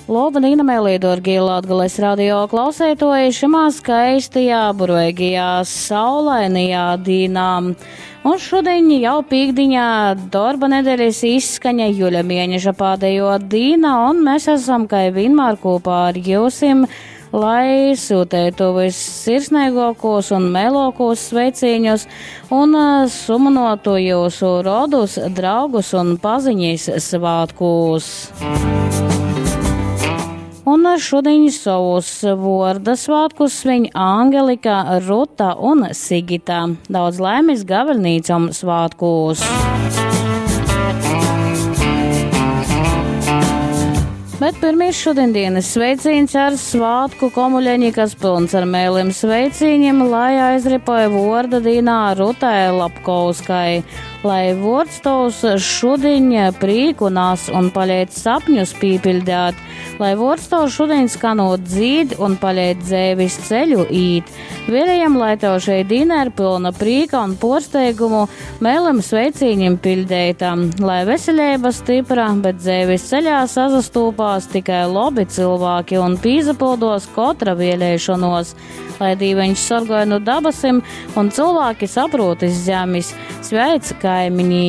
Loba dīna, mēlī, dārgie Latgales radio klausētoji, šimā skaistajā, burveigajā, saulainajā dīnā. Un šodien jau pīkdiņā darba nedēļas izskaņa juļa mēneša pēdējo dīna, un mēs esam, kā vienmēr, kopā ar jūsim lai sūtētu vissirsnīgākos un mēlākos sveicīņus un suminotu jūsu rodus, draugus un paziņas svētkos. Un šodien savus vorda svētkus sviņ Angelika, Ruta un Sigita. Daudz laimes gaveļnīcam svētkos! Bet pirmīs šodienas sveiciens ar svātku komuļeņi, kas pilns ar mēlim sveicīņiem, lai aizripoja vorda dīnā Rutai Lapkauskai. Lai vords tovs šudiņ prīku nas un paliec sapņus pīpildēt, lai vords tovs šudiņ skanot dzīd un paliec dzēvis ceļu īt. Vēlējam, lai tev šeit dīna ir pilna prīka un porsteigumu, mēlim sveicīņim pildētam, lai veselība stipra, bet dzēvis ceļā sazastūpās tikai labi cilvēki un pīzapildos kotra vēlēšanos, lai dīveņš sorgoja no dabasim un cilvēki saprot iz zemes. Sveic kaimiņi!